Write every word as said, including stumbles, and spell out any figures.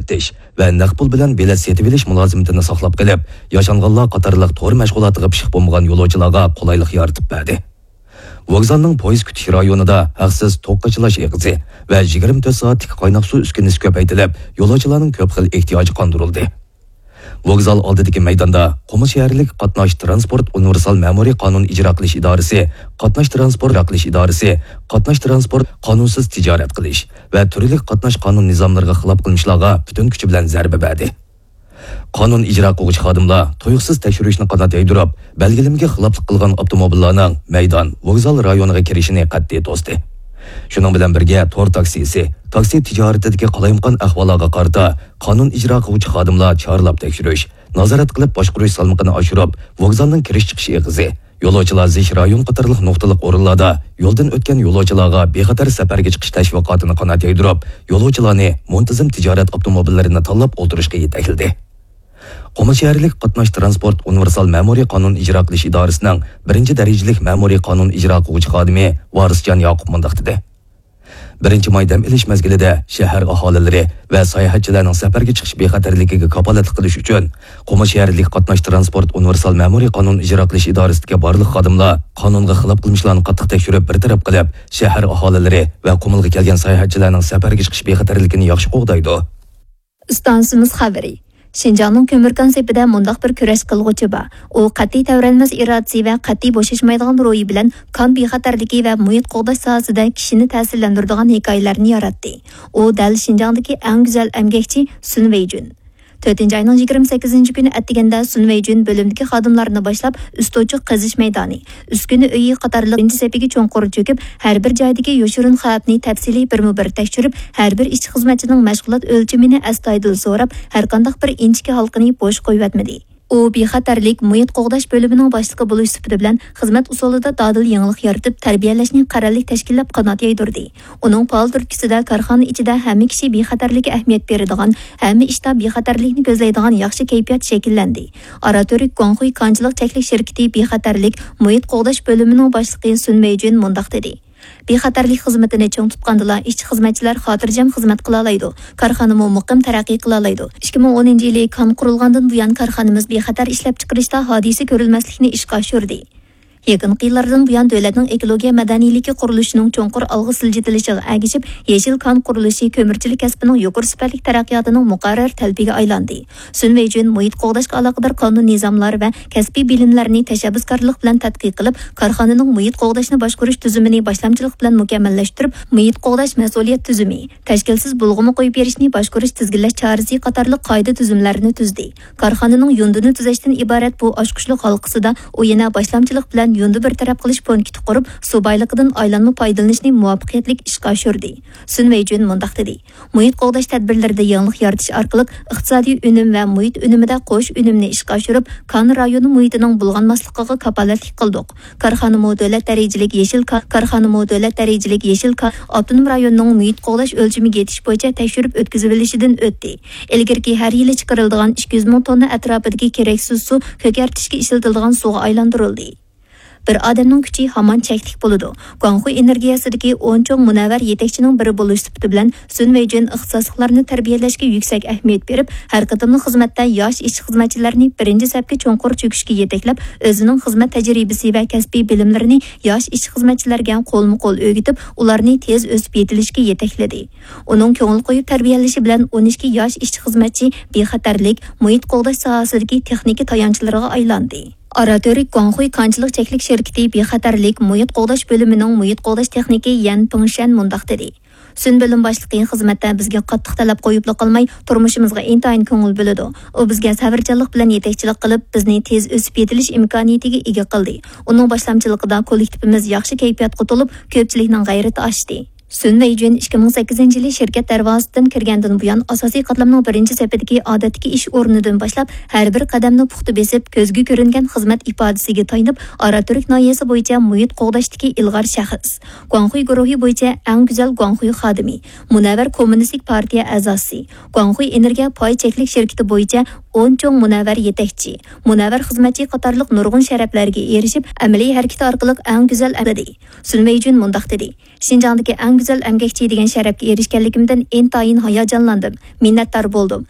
ئىشلىتىش ۋە نەق پۇل بىلەن بېلەت سېتىۋېلىش مۇلازىمىتىنى ساقلاپ قېلىپ، ياشانغانلار قاتارلىق تور مەشغۇلاتىغا پىشىق بولمىغان يولۇچىلارغا قولايلىق يارىتىپ بەردى. ۋوگزالنىڭ پويىز كۈتۈش رايونىدا ھەقسىز توك قاچىلاش ئېغىزى ۋە يىگىرمە تۆت سائەتلىك قايناق سۇ ئۈسكۈنىسى كۆپەيتىلىپ، يولۇچىلارنىڭ كۆپ خىل ئېھتىياجى قاندۇرۇلدى. ۋوگزال ئالدىدىكى مەيداندا قۇمۇل شەھەرلىك قاتناش تىرانسپورت ئۇنىۋېرسال مەمۇرىي قانۇن ئىجرا قىلىش ئىدارىسى، قاتناش تىرانسپورت ئىجرا قىلىش ئىدارىسى، قاتناش تىرانسپورت قانۇنسىز تىجارەت قىلىش ۋە تۈرلۈك قاتناش قانۇن نىزاملىرىغا خىلاپ قىلمىشلارغا پۈتۈن كۈچى بىلەن زەربە بەردى. قانۇن ئىجرا قىلغۇچى خادىملار تۇيۇقسىز تەكشۈرۈشنى قانات يايدۇرۇپ، بەلگىلىمىگە خىلاپلىق قىلغان ئاپتوموبىللارنىڭ مەيدان، ۋوگزال رايونىغا كىرىشىنى قەتئىي توستى. شۇنىڭ بىلەن بىرگە، تور تاكسىسى، تاكسى تىجارىتىدىكى قالايمىقان ئەھۋاللارغا قارىتا قانۇن ئىجرا قىلغۇچى خادىملار چارلاپ تەكشۈرۈش، نازارەت قىلىپ باشقۇرۇش سالمىقىنى ئاشۇرۇپ، ۋوگزالنىڭ كىرىش-چىقىش ئېغىزى، يولۇچىلار زىچ رايون قاتارلىق نۇقتىلىق ئورۇنلاردا يولدىن ئۆتكەن يولۇچىلارغا بىخەتەر سەپەرگە چىقىش تەشۋىقاتىنى قانات يايدۇرۇپ، يولۇچىلارنى مۇنتىزىم تىجارەت ئاپتوموبىللىرىنى تاللاپ ئولتۇرۇشقا يېتەكلىدى. قۇمۇل شەھەرلىك قاتناش تىرانسپورت ئۇنىۋېرسال مەمۇرىي قانۇن ئىجرا قىلىش ئىدارىسىنىڭ بىرىنچى دەرىجىلىك مەمۇرىي قانۇن ئىجرا قىلغۇچى خادىمى ۋارىسجان ياقۇپ مۇنداق دېدى. بىرىنچى ماي دەم ئېلىش مەزگىلىدە شەھەر ئاھالىلىرى ۋە ساياھەتچىلەرنىڭ سەپەرگە چىقىش بىخەتەرلىكىگە كاپالەتلىك قىلىش ئۈچۈن، قۇمۇل شەھەرلىك قاتناش تىرانسپورت ئۇنىۋېرسال مەمۇرىي قانۇن ئىجرا قىلىش ئىدارىسىدىكى بارلىق خادىملار قانۇنغا خىلاپ قىلمىشلارنى قاتتىق تەكشۈرۈپ بىر تەرەپ قىلىپ، شەھەر ئاھالىلىرى ۋە قۇمۇلغا كەلگەن ساياھەتچىلەرنىڭ سەپەرگە چىقىش بىخەتەرلىكىنى ياخشى قوغدايدۇ. ئىستانسىمىز خەۋىرى. شىنجاڭنىڭ كۆمۈركان سېپىدە مۇنداق بىر كۈرەش قىلغۇچى بار. ئۇ قەتئىي تەۋرەنمەس ئىرادىسى ۋە قەتئىي بوشاشمايدىغان روھى بىلەن كان بىخەتەرلىكى ۋە مۇھىت قوغداش ساھەسىدە كىشىنى تەسىرلەندۈرىدىغان ھېكايىلەرنى ياراتتى. ئۇ دەل شىنجاڭدىكى ئەڭ گۈزەل ئەمگەكچى سۈن ۋېيجۈن. تۆتىنچى ئاينىڭ يىگىرمە سەككىزىنچى كۈنى ئەتىگەندە سۈن ۋېيجۈن بۆلۈمدىكى خادىملارنى باشلاپ، ئۈستوچۇق قېزىش مەيدانى، ئۈسكۈنە ئۆيى قاتارلىق بىرىنچى سەپىگە چوڭقۇر چۆكۈپ، ھەر بىر جايدىكى يوشۇرۇن خەۋپنى تەپسىلىي بىرمۇ بىر تەكشۈرۈپ، ھەر بىر ئىشچى-خىزمەتچىنىڭ مەشغۇلات ئۆلچىمىنى ئەستايىدىل سوراپ، ھەرقانداق بىر ئىنچىكە ھالقىنى بوش قويۇۋەتمىدى. ئۇ بىخەتەرلىك، مۇھىت قوغداش بۆلۈمىنىڭ باشلىقى بولۇش سۈپىتى بىلەن خىزمەت ئۇسۇلىدا دادىل يېڭىلىق يارىتىپ، تەربىيەلەشنى قەرەللىك تەشكىللەپ قانات يايدۇردى. ئۇنىڭ پائال تۈرتكىسىدە كارخانا ئىچىدە ھەممە كىشى بىخەتەرلىككە ئەھمىيەت بېرىدىغان، ھەممە ئىشتا بىخەتەرلىكنى كۆزلەيدىغان ياخشى كەيپىيات شەكىللەندى. ئاراتۈرك گۇاڭخۇي كانچىلىق چەكلىك شىركىتى بىخەتەرلىك، مۇھىت قوغداش بۆلۈمىنىڭ باشلىقى سۈن مېيجۈن مۇنداق دېدى. بىخەتەرلىك خىزمىتىنى چىڭ تۇتقاندىلا، ئىشچى-خىزمەتچىلەر خاتىرجەم خىزمەت قىلالايدۇ، كارخانىمۇ مۇقىم تەرەققىي قىلالايدۇ. ئىككى مىڭ ئونىنچى يىلى كان قۇرۇلغاندىن بۇيان، كارخانىمىز بىخەتەر ئىشلەپچىقىرىشتا ھادىسە كۆرۈلمەسلىكنى ئىشقا ئاشۇردى. يېقىنقى يىللاردىن بۇيان، دۆلەتنىڭ ئېكولوگىيە مەدەنىيلىكى قۇرۇلۇشىنىڭ چوڭقۇر ئالغا سىلجىتىلىشىغا ئەگىشىپ، يېشىل كان قۇرۇلۇشى كۆمۈرچىلىك كەسپىنىڭ يۇقىرى سۈپەتلىك تەرەققىياتىنىڭ مۇقەررەر تەلىپىگە ئايلاندى. سۈن ۋېيجۈن مۇھىت قوغداشقا ئالاقىدار قانۇن نىزاملار ۋە كەسپىي بىلىملەرنى تەشەببۇسكارلىق بىلەن تەتقىق قىلىپ، كارخانىنىڭ مۇھىت قوغداشنى باشقۇرۇش تۈزۈمىنى باشلامچىلىق بىلەن مۇكەممەللەشتۈرۈپ، مۇھىت قوغداش مەسئۇلىيەت تۈزۈمى، تەشكىلسىز بۇلغىما قويۇپ بېرىشنى باشقۇرۇش تىزگىنلەش چارىسى قاتارلىق قائىدە تۈزۈملەرنى تۈزدى. كارخانىنىڭ يۇندىنى تۈزەشتىن ئىبارەت بۇ ئاچقۇچلۇق ھالقىسىدا ئۇ يەنە باشلامچىلىق بىلەن يۇندى بىر تەرەپ قىلىش پونكىتى قۇرۇپ، سۇ بايلىقىدىن ئايلانما پايدىلىنىشنى مۇۋەپپەقىيەتلىك ئىشقا ئاشۇردى. سۈن ۋېيجۈن مۇنداق دېدى. مۇھىت قوغداش تەدبىرلىرىدە يېڭىلىق يارىتىش ئارقىلىق ئىقتىسادىي ئۈنۈم ۋە مۇھىت ئۈنۈمىدە قوش ئۈنۈمنى ئىشقا ئاشۇرۇپ، كان رايونى مۇھىتىنىڭ بۇلغانماسلىقىغا كاپالەتلىك قىلدۇق. كارخانىمۇ دۆلەت دەرىجىلىك يېشىل كا-، كارخانىمۇ دۆلەت دەرىجىلىك يېشىل كا-، ئاپتونوم رايوننىڭ مۇھىت قوغداش ئۆلچىمىگە يېتىش بويىچە تەكشۈرۈپ ئۆتكۈزۈۋېلىشىدىن ئۆتتى. ئىلگىرىكى ھەر يىلى چىقىرىلىدىغان ئىككى يۈز مىڭ توننا ئەتراپىدىكى كېرەكسىز سۇ كۆكەرتىشكە ئىشلىتىلىدىغان سۇغا ئايلاندۇرۇلدى. بىر ئادەمنىڭ كۈچى ھامان چەكلىك بولىدۇ. گۇاڭخۇي ئېنېرگىيەسىدىكى ئون چوڭ مۇنەۋۋەر يېتەكچىنىڭ بىرى بولۇش سۈپىتى بىلەن، سۈن ۋېيجۈن ئىختىساسلىقلارنى تەربىيەلەشكە يۈكسەك ئەھمىيەت بېرىپ، ھەر قېتىملىق خىزمەتتە ياش ئىشچى-خىزمەتچىلەرنى بىرىنچى سەپكە چوڭقۇر چۆكۈشكە يېتەكلەپ، ئۆزىنىڭ خىزمەت تەجرىبىسى ۋە كەسپىي بىلىملىرىنى ياش ئىشچى-خىزمەتچىلەرگە قولمۇ-قول ئۆگىتىپ، ئۇلارنى تېز ئۆسۈپ يېتىلىشكە يېتەكلىدى. ئۇنىڭ كۆڭۈل قويۇپ تەربىيەلىشى بىلەن ئون ئىككى ياش ئىشچى-خىزمەتچى بىخەتەرلىك، مۇھىت قوغداش ساھەسىدىكى تېخنىكا تايانچلىرىغا ئايلاندى. ئاراتۈرك گۇاڭخۇي كانچىلىق چەكلىك شىركىتى بىخەتەرلىك مۇھىت قوغداش بۆلۈمىنىڭ مۇھىت قوغداش تېخنىكى يەن پىڭشەن مۇنداق دېدى. سۈن بۆلۈم باشلىقى خىزمەتتە بىزگە قاتتىق تەلەپ قويۇپلا قالماي، تۇرمۇشىمىزغا ئىنتايىن كۆڭۈل بۆلىدۇ. ئۇ بىزگە سەۋرچانلىق بىلەن يېتەكچىلىك قىلىپ، بىزنى تېز ئۆسۈپ يېتىلىش ئىمكانىيىتىگە ئىگە قىلدى. ئۇنىڭ باشلامچىلىقىدا كوللېكتىپىمىز ياخشى كەيپىياتقا تولۇپ، كۆپچىلىكنىڭ غەيرىتى ئاشتى. سۈن ۋېيجۈن ئىككى مىڭ سەككىزىنچى يىلى شىركەت دەرۋازىسىدىن كىرگەندىن بۇيان، ئاساسىي قاتلامنىڭ بىرىنچى سېپىدىكى ئادەتتىكى ئىش ئورنىدىن باشلاپ، ھەر بىر قەدەمنى پۇختا بېسىپ، كۆزگە كۆرۈنگەن خىزمەت ئىپادىسىگە تايىنىپ، ئاراتۈرك ناھىيەسى بويىچە مۇھىت قوغداشتىكى ئىلغار شەخس، گۇاڭخۇي گۇرۇھى بويىچە ئەڭ گۈزەل گۇاڭخۇي خادىمى، مۇنەۋۋەر كوممۇنىستىك پارتىيە ئەزاسى، گۇاڭخۇي ئېنېرگىيە پاي چەكلىك شىركىتى بويىچە ئون چوڭ مۇنەۋۋەر يېتەكچى، مۇنەۋۋەر خىزمەتچى قاتارلىق نۇرغۇن شەرەپلەرگە ئېرىشىپ، ئەمەلىي ھەرىكىتى ئارقىلىق ئەڭ گۈزەل ئەمەلىي. سۈن ۋېيجۈن مۇنداق دېدى. شىنجاڭدىكى ئەڭ گۈزەل ئەمگەكچى دېگەن شەرەپكە ئېرىشكەنلىكىمدىن ئىنتايىن ھاياجانلاندىم، مىننەتدار بولدۇم.